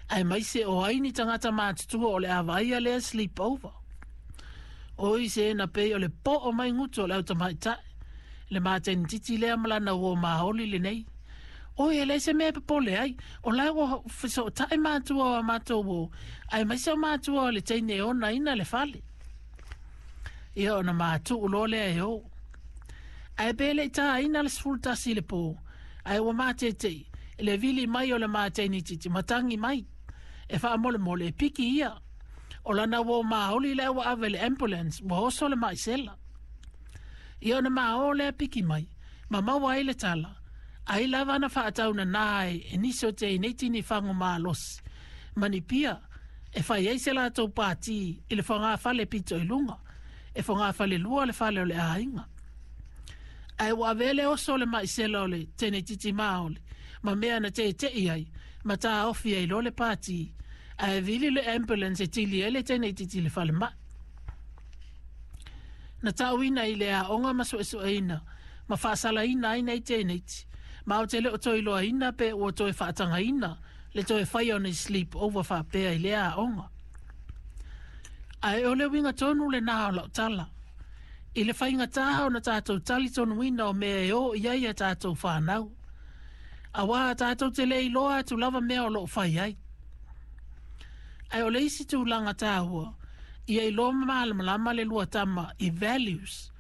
Aemaise o ai ni tagata matutua o le a vaaia lea sleep over. Oi se na pei o le po'o mai gutu o le au tamaitai, le mateneititi lea ma lana uo maoli lenei. Oi, e leai se mea e popole ai, o la e ua fesootai matua o a matou uo, aemaise o matua o le teine e onaina le fale. Ia ona matuu loa lea e o. Ae pe le i taina le 11 i le po, ae ua matete'i i le vili mai o le mateneititi ma tagi mai e faamolemole e piki ia. O lana uo maoli lea ua ave i le ambulance ua oso le maisela. Ia ona ma o lea piki mai, ma maua ai le tala, ai lava na faataunanā ai e nisi o teineiti ni fagu malosi ma ni pia e fai ai se latou pātī i le fogafale pito i luga, e fogafale lua le fale o le aiga. Ae ua avea le oso o le maisela o le teneititi maoli ma mea na tete'i ai ma taofi ai loa le pātī, ae vili le ambulance e tili ai le teneititi i le falemai. Na ta'uina i le aoga ma suesueina ma faasalaina ai nei teneiti, ma ou te le o toe iloaina pe ua toe faatagaina le toe faia o nei sleep over faapea i lea aoga. Ae o le uiga tonu lenā o lau tala, i le faigata ona tatou talitonuina o mea e o i ai a tatou fanau, auā tatou te le iloa atu lava mea o lo o fai ai. Ae o le isi tulaga taua, ia iloa ma malamalama le lua tama i values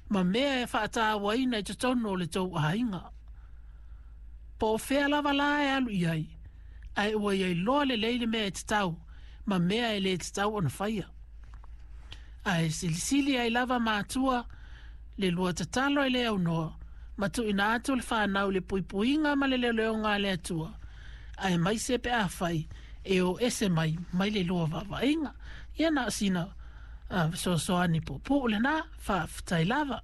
ma mea e faatauaina i totonu o le tou aiga. Po o fea lava la e alu i ai, ae ua ia iloa lelei le mea e tatau ma mea e le tatau ona faia. Ae silisili ai lava matua le lua tatalo e le aunoa ma tuuina atu le fanau i le puipuiga ma le leoleoga a le Atua, aemaise pe afai e o ese mai mai le lua vaavaaiga. Ia na o sina fesoasoani puupuu lenā, faafetai lava.